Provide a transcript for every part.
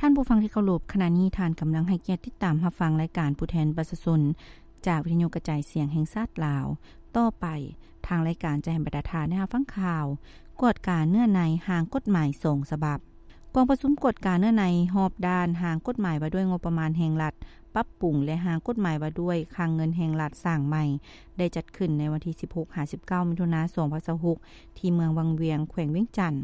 ທ່ານຜູ້ຟັງທີ່ເຄົາລົບ, ຂະນະນີ້ທ່ານກຳລັງໃຫ້ກຽດຕິດຕາມຮັບຟັງລາຍການຜູ້ແທນປະຊາຊົນ ຈາກວິທະຍຸກະຈາຍສຽງແຫ່ງຊາດລາວ. ຕໍ່ໄປ, ທາງລາຍການຈະໃຫ້ບັນດາທ່ານໄດ້ຮັບຟັງຂ່າວ ກວດກາເນື້ອໃນຮ່າງກົດໝາຍສອງສະບັບ. ກອງປະຊຸມກວດກາເນື້ອໃນຮອບດ້ານຮ່າງກົດໝາຍວ່າດ້ວຍງົບປະມານແຫ່ງລັດປັບປຸງ ແລະ ຮ່າງກົດໝາຍວ່າດ້ວຍຄັງເງິນແຫ່ງລັດສ້າງໃໝ່ ໄດ້ຈັດຂຶ້ນໃນວັນທີສິບຫົກຫາສິບເກົ້າ ມິຖຸນາ ສອງພັນຊາວຫົກ ທີ່ເມືອງວັງວຽງ ແຂວງວຽງຈັນ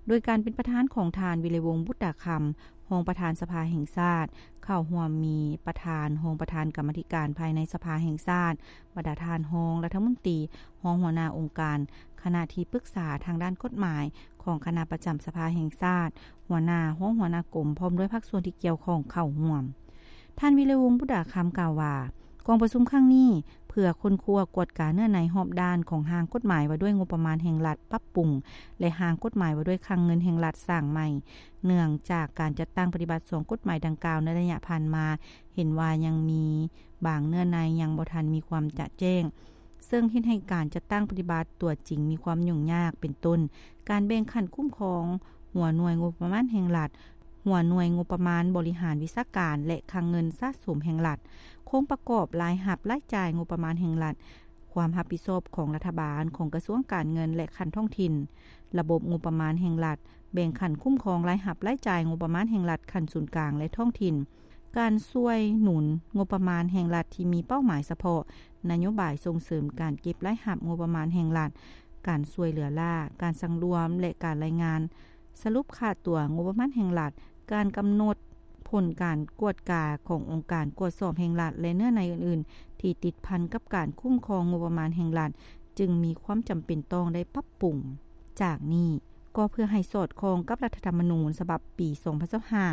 ໂດຍການເປັນປະທານຂອງທ່ານ ວິໄລວົງ ບຸດຕາຄຳ ຮອງປະທານສະພາແຫ່ງຊາດ, ເຂົ້າຮ່ວມມີປະທານ, ຮອງປະທານກຳມາທິການພາຍໃນສະພາແຫ່ງຊາດ, ບັນດາທ່ານຮອງລັດຖະມົນຕີ, ຮອງຫົວໜ້າອົງການ, ຄະນະທີ່ປຶກສາທາງດ້ານກົດໝາຍຂອງຄະນະປະຈຳສະພາແຫ່ງຊາດ, ຫົວໜ້າ, ຮອງຫົວໜ້າກົມ ພ້ອມດ້ວຍພາກສ່ວນທີ່ກ່ຽວຂ້ອງເຂົ້າຮ່ວມ. ທ່ານ ວິໄລວົງ ບຸດຕາຄຳ ກ່າວວ່າ, ກອງປະຊຸມຄັ້ງນີ້ ເພື່ອຄົ້ນຄວ້າກວດກາເນື້ອໃນຮອບດ້ານຂອງຮ່າງກົດໝາຍວ່າດ້ວຍງົບປະມານແຫ່ງລັດປັບປຸງ ແລະ ຮ່າງກົດໝາຍວ່າດ້ວຍຄັງເງິນແຫ່ງລັດສ້າງໃໝ່, ເນື່ອງຈາກການຈັດຕັ້ງປະຕິບັດສອງກົດໝາຍດັ່ງກ່າວໃນໄລຍະຜ່ານມາ ເຫັນວ່າຍັງມີບາງເນື້ອໃນຍັງບໍ່ທັນມີຄວາມຈະແຈ້ງ, ເຊິ່ງເຮັດໃຫ້ການຈັດຕັ້ງປະຕິບັດຕົວຈິງມີຄວາມຫຍຸ້ງຍາກ, ເປັນຕົ້ນ ການແບ່ງຂັ້ນຄຸ້ມຄອງຫົວໜ່ວຍງົບປະມານແຫ່ງລັດ, ຫົວໜ່ວຍງົບປະມານບໍລິຫານວິຊາການ ແລະ ຄັງເງິນສະສົມແຫ່ງລັດ, ໂຄງປະກອບລາຍຮັບລາຍຈ່າຍງົບປະມານແຫ່ງລັດ, ຄວາມຮັບຜິດຊອບຂອງລັດຖະບານ, ຂອງກະຊວງການເງິນ ແລະ ຂັ້ນທ້ອງຖິ່ນ, ລະບົບງົບປະມານແຫ່ງລັດ, ແບ່ງຂັ້ນຄຸ້ມຄອງລາຍຮັບລາຍຈ່າຍງົບປະມານແຫ່ງລັດຂັ້ນສູນກາງ ແລະ ທ້ອງຖິ່ນ, ການຊ່ວຍໜູນງົບປະມານແຫ່ງລັດທີ່ມີເປົ້າໝາຍສະເພາະ, ນະໂຍບາຍສົ່ງເສີມການເກັບລາຍຮັບງົບປະມານແຫ່ງລັດ, ການຊ່ວຍເຫຼືອລ້າ, ການສັງລວມ ແລະ ການລາຍງານ ສະຫຼຸບຄ່າຕົວງົບປະມານແຫ່ງລັດ, ການກຳນົດຜົນການກວດກາຂອງອົງການກວດສອບແຫ່ງລັດ ແລະ ເນື້ອໃນອື່ນໆ ທີ່ຕິດພັນກັບການຄຸ້ມຄອງງົບປະມານແຫ່ງລັດ ຈຶ່ງມີຄວາມຈຳເປັນຕ້ອງໄດ້ປັບປຸງ. ຈາກນີ້, ກໍເພື່ອໃຫ້ສອດຄ່ອງກັບລັດຖະທຳມະນູນສະບັບປີສອງພັນຊາວຫ້າ,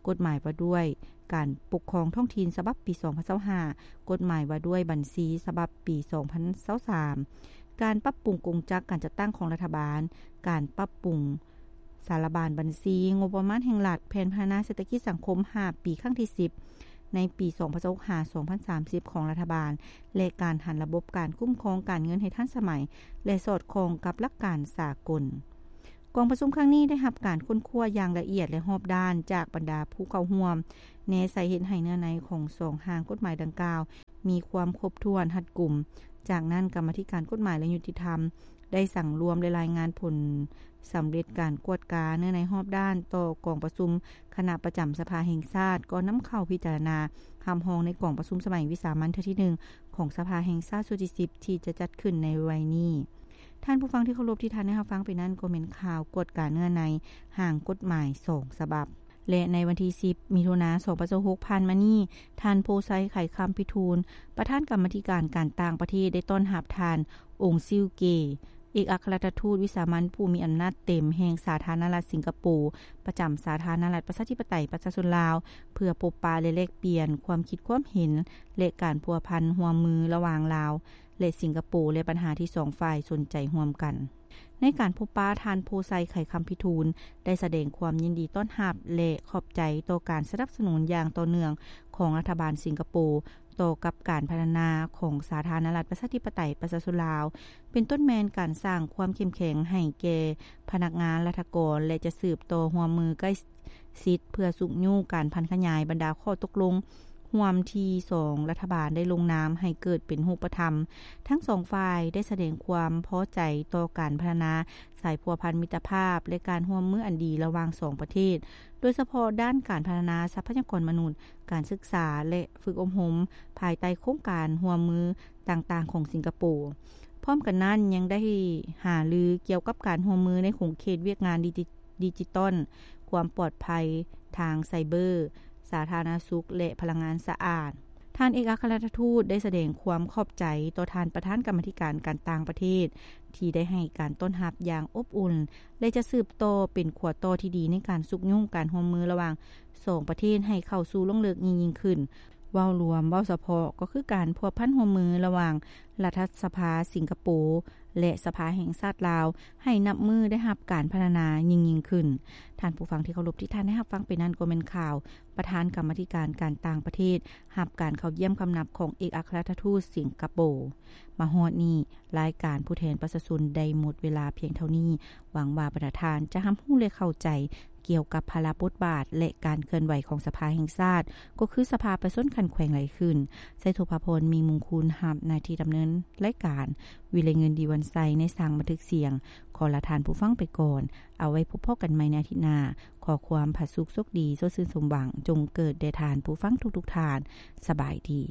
ກົດໝາຍວ່າດ້ວຍການປົກຄອງທ້ອງຖິ່ນສະບັບປີສອງພັນຊາວຫ້າ, ກົດໝາຍວ່າດ້ວຍບັນຊີສະບັບປີສອງພັນຊາວສາມ, ການປັບປຸງກົງຈັກການຈັດຕັ້ງຂອງລັດຖະບານ, ການປັບປຸງ ສາລະບານບັນຊີງົບປະມານແຫ່ງລັດ ແຜນພັດທະນາເສດຖະກິດສັງຄົມຫ້າປີຄັ້ງທີສິບ ໃນປີສອງພັນຊາວຫົກຫາສອງພັນສາມສິບຂອງລັດຖະບານ ແລະ ການຫັນລະບົບການຄຸ້ມຄອງການເງິນໃຫ້ທັນສະໄໝ ແລະ ສອດຄ່ອງກັບຫຼັກການສາກົນ. ກອງປະຊຸມຄັ້ງນີ້ໄດ້ຮັບການຄົ້ນຄວ້າຢ່າງລະອຽດ ແລະ ຮອບດ້ານຈາກບັນດາຜູ້ເຂົ້າຮ່ວມ, ແນໃສ່ເຮັດໃຫ້ເນື້ອໃນຂອງສອງຮ່າງກົດໝາຍດັ່ງກ່າວມີຄວາມຄົບຖ້ວນ, ຮັດກຸມ. ຈາກນັ້ນ, ກຳມາທິການກົດໝາຍ ແລະ ຍຸຕິທຳ ໄດ້ສັງລວມ ແລະ ລາຍງານຜົນສຳເລັດການກວດກາເນື້ອໃນຮອບດ້ານຕໍ່ກອງປະຊຸມຄະນະປະຈຳສະພາແຫ່ງຊາດ ກໍນຳເຂົ້າພິຈາລະນາຮັບຮອງໃນກອງປະຊຸມສະໄໝວິສາມັນເທື່ອທີໜຶ່ງຂອງສະພາແຫ່ງຊາດຊຸດທີສິບ ທີ່ຈະຈັດຂຶ້ນໃນໄວໆນີ້. ທ່ານຜູ້ຟັງທີ່ເຄົາລົບ, ທີ່ທ່ານໄດ້ຮັບຟັງໄປນັ້ນ ກໍແມ່ນຂ່າວກວດກາເນື້ອໃນຮ່າງກົດໝາຍສອງສະບັບ. ແລະ ໃນວັນທີສິບ ມິຖຸນາ ສອງພັນຊາວຫົກ ຜ່ານມານີ້, ທ່ານ ໂພໄຊ ໄຂຄຳພິທູນ ປະທານກຳມາທິການການຕ່າງປະເທດ ໄດ້ຕ້ອນຮັບທ່ານ ອົງ ຊິວເກ ເອກອັກຄະລັດຖະທູດວິສາມັນຜູ້ມີອຳນາດເຕັມແຫ່ງສາທາລະນະລັດສິງກະໂປ ປະຈຳສາທາລະນະລັດປະຊາທິປະໄຕປະຊາຊົນລາວ ເພື່ອພົບປະ ແລະ ແລກປ່ຽນຄວາມຄິດຄວາມເຫັນ ແລະ ການພົວພັນຮ່ວມມືລະຫວ່າງລາວ ແລະ ສິງກະໂປ ແລະ ບັນຫາທີ່ສອງຝ່າຍສົນໃຈຮ່ວມກັນ. ໃນການພົບປະ, ທ່ານ ໂພໄຊ ໄຂຄຳພິທູນ ໄດ້ສະແດງຄວາມຍິນດີຕ້ອນຮັບ ແລະ ຂອບໃຈຕໍ່ການສະໜັບສະໜູນຢ່າງຕໍ່ເນື່ອງຂອງລັດຖະບານສິງກະໂປ ຕໍ່ກັບການພັດທະນາຂອງສາທາລະນະລັດປະຊາທິປະໄຕປະຊາຊົນລາວ, ເປັນຕົ້ນແມ່ນການສ້າງຄວາມເຂັ້ມແຂງໃຫ້ແກ່ພະນັກງານລັດຖະກອນ ແລະ ຈະສືບຕໍ່ຮ່ວມມືໃກ້ຊິດເພື່ອຊຸກຍູ້ການຜັນຂະຫຍາຍບັນດາຂໍ້ຕົກລົງ ຮ່ວມທີ່ສອງລັດຖະບານໄດ້ລົງນາມໃຫ້ເກີດເປັນຮູບປະທຳ. ທັງສອງຝ່າຍໄດ້ສະແດງຄວາມພໍໃຈຕໍ່ການພັດທະນາສາຍພົວພັນມິດຕະພາບ ແລະ ການຮ່ວມມືອັນດີລະຫວ່າງສອງປະເທດ, ໂດຍສະເພາະດ້ານການພັດທະນາຊັບພະຍາກອນມະນຸດ, ການສຶກສາ ແລະ ຝຶກອົບຮົມ ພາຍໃຕ້ໂຄງການຮ່ວມມືຕ່າງໆຂອງສິງກະໂປ. ພ້ອມກັນນັ້ນ, ຍັງໄດ້ຫາລືກ່ຽວກັບການຮ່ວມມືໃນຂົງເຂດວຽກງານດິຈິ ດິຈິຕອນ, ຄວາມປອດໄພທາງໄຊເບີ, ສາທາລະນະສຸກ ແລະ ພະລັງງານສະອາດ. ທ່ານເອກອັກຄະລັດຖະທູດໄດ້ສະແດງຄວາມຂອບໃຈຕໍ່ທ່ານປະທານກຳມາທິການການຕ່າງປະເທດ ທີ່ໄດ້ໃຫ້ການຕ້ອນຮັບຢ່າງອົບອຸ່ນ ແລະ ຈະສືບຕໍ່ເປັນຂົວຕໍ່ທີ່ດີໃນການຊຸກຍູ້ການຮ່ວມມືລະຫວ່າງສອງປະເທດໃຫ້ເຂົ້າສູ່ລວງເລິກຍິ່ງໆຂຶ້ນ. ເວົ້າລວມ, ເວົ້າສະເພາະກໍຄືການພົວພັນຮ່ວມມືລະຫວ່າງລັດຖະສະພາສິງກະໂປ ແລະ ສະພາແຫ່ງຊາດລາວ ໃຫ້ນັບມື້ໄດ້ຮັບການພັດທະນາຍິ່ງໆຂຶ້ນ. ທ່ານຜູ້ຟັງທີ່ເຄົາລົບ, ທີ່ທ່ານໄດ້ຮັບຟັງໄປນັ້ນກໍແມ່ນຂ່າວປະທານກຳມາທິການການຕ່າງປະເທດ ຮັບການເຂົ້າຢ້ຽມຄຳນັບຂອງເອກອັກຄະລັດຖະທູດສິງກະໂປ. ມາຮອດນີ້, ລາຍການຜູ້ແທນປະຊາຊົນໄດ້ໝົດເວລາພຽງເທົ່ານີ້. ຫວັງວ່າບັນດາທ່ານຈະຮັບຮູ້ ແລະ ເຂົ້າໃຈ ກ່ຽວກັບພາລະບົດບາດ ແລະ ການເຄື່ອນໄຫວຂອງສະພາແຫ່ງຊາດ ກໍຄືສະພາປະຊາຊົນຂັ້ນແຂວງຫຼາຍຂຶ້ນ. ໄຊໂທພາພອນ ມີມຸງຄູນ ຮັບໜ້າທີ່ດຳເນີນລາຍການ. ວິໄລເງິນ ດີວັນໄຊ ໃນຊ່າງບັນທຶກສຽງ ຂໍລາທ່ານຜູ້ຟັງໄປກ່ອນ. ເອົາໄວ້ພົບພໍ້ກັນໃໝ່ໃນອາທິດໜ້າ. ຂໍຄວາມຜາສຸກໂຊກດີ ໂຊກຊື່ນສົມຫວັງ ຈົ່ງເກີດແດ່ທ່ານຜູ້ຟັງທຸກໆທ່ານ. ສະບາຍດີ.